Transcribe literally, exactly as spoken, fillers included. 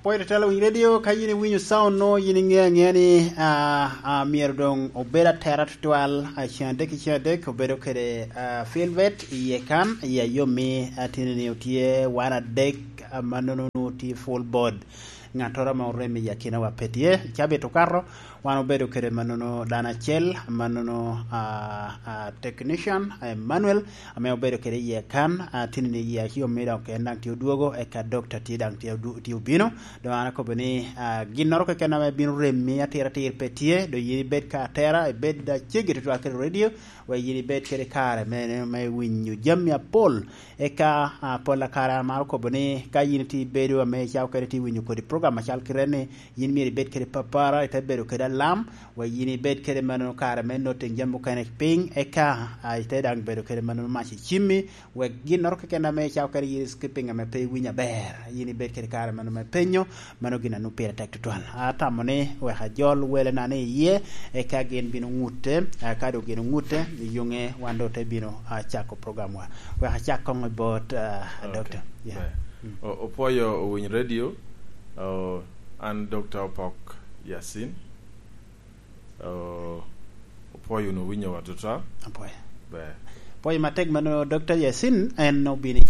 Pwod italo winyo redio, ka yin iwinyo sound no, yin iŋeo aŋea ni, ah, ah, myero doŋ obed atera tutwal, ah, ceng adek i ceng adek, obedo kede, ah, Filbert iye kan, i ayomi, ah, tini ni otye wan adek, ah, mannono onwoŋo tye full board. Ŋattoro ame orem i akinawa pe tye. Cabit okato, wan obedo kede mannono dano acel, mannono, ah, ah, technician, ah, Emmanuel, ame obedo kede iye kan, ah, tini ni iye ayomi dok en daŋ tye odwogo, eka doctor tye daŋ tye odu-, tye obino. Doŋ an akobo ni, ah, ginnoro keken ame bino remi atiratir pe tye, doŋ yin ibed ka atera, ibed aceggi tutwal kede redio, wek yin ibed kede kare me, me winyo jami apol. Eka, ah, pol a kare an amaro kobo ni, ka yin itye ibedo ame icako kede tye winyo kodi program acal kite ni, yin myero ibed kede papara, ite bedo kede alam, wek yin ibed kede mannono kare me noting jami mukene piny, eka, ah, ite daŋ bedo kede mannono mac i cimmi, wek ginnoro keken ame icako kede yin skipping ame pe iwinyo aber, yin ibed kede kare mano me penyo, mano gin a nwoŋo pire tek tutwal. Atamo ni wek ajol welena ni iye, eka gin bino ŋutte, eka doŋ gin oŋutte, i yuŋe wan doŋ te bino, ah, cako programwa. Wek acak koŋ i bot, ah, Okay. Doctor. Yeah. Ber. Mm. O-, opwoyo owiny radio, o, an Doctor Opok Yasin. O, opwoyo wunu winyowa tutwal. Apwoyo. Ber. Apwoyo matek mano, Doctor Yasin, en obino